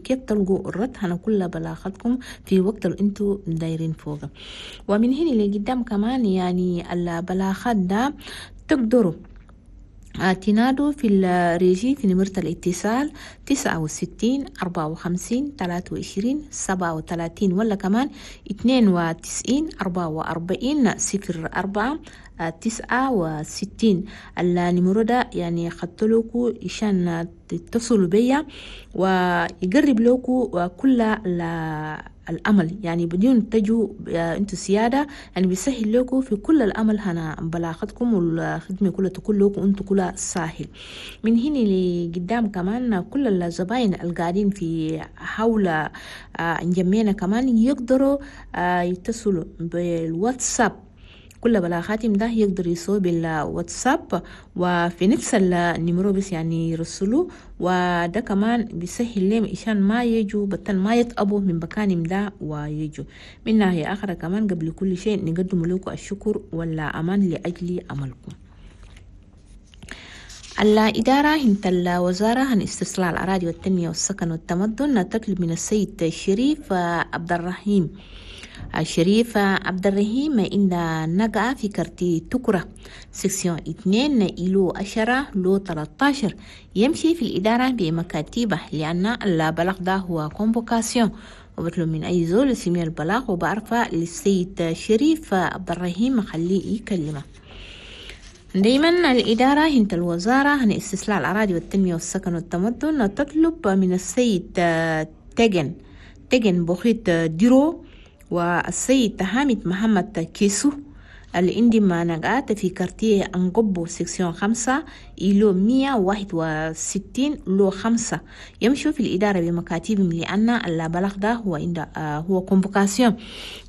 كيف تلقوا الرد هنا كل بلاغاتكم في وقت اللي انتوا دايرين فوقه. ومن هنا لقدام كمان يعني البلاغات ده تقدروا تنادوا في الريجي في نمرة الاتصال 69 54 23 37، ولا كمان 92 44 04 69. النمرة ده يعني خدتلوكو عشان تتصلوا بيا ويقرب لكو كل الأمل، يعني بدون تجوا انتوا سيادة، يعني بيسهل لكم في كل الأمل هنا بلاغتكم والخدمة كلها تكون لكم انتوا كلها ساهل. من هنا لقدام كمان كل الزباين القاعدين في حول انجمينا كمان يقدروا يتصلوا بالواتساب، كل بلاغاتهم ده يقدر يسوي بالواتساب وفي نفس النمرو بس يعني يرسلوا، وده كمان بيسهل لهم عشان ما يجوا بطل ما يتقبوا من مكانهم ده ويجوا. من ناحية أخرى كمان قبل كل شيء نقدم لكم الشكر والأمان لأجل عملكم. الإدارة هنت الوزارة عن استصلاح الأراضي والتنمية والسكن والتمدن تطلب من السيد الشريف عبد الرحيم الشريف عبد الرحيم إن نقع في quartier تكرة section 2 îlot 10 lot 13 يمشي في الإدارة بمكاتبه، لأن البلاغ ده هو convocation، وبطلب من أي زول سمي البلاغ وبعرفه للسيد شريف عبد الرحيم خليه يكلمه. دايما الإدارة هنت الوزارة عن استصلاح الأراضي والتنمية والسكن والتمدن تطلب من السيد تجن بخيت ديرو والسيد حامد محمد كيسو اللي عندي ما نقعت في quartier أنقبو section 5 îlot 161 lot 5 يمشوا في الإدارة بمكاتبهم، لأن البلاغ ده هو عند هو convocation.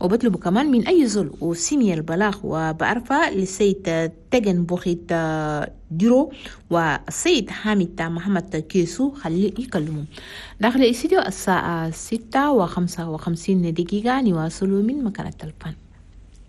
وبطلبوا كمان من أي زول وسمي البلاغ وبعرفة للسيد تجن بوخيت ديرو والسيد حامد محمد كيسو خليه يكلموا. داخل الاستديو الساعة 6:55 نواصلوا من مكان التلفون.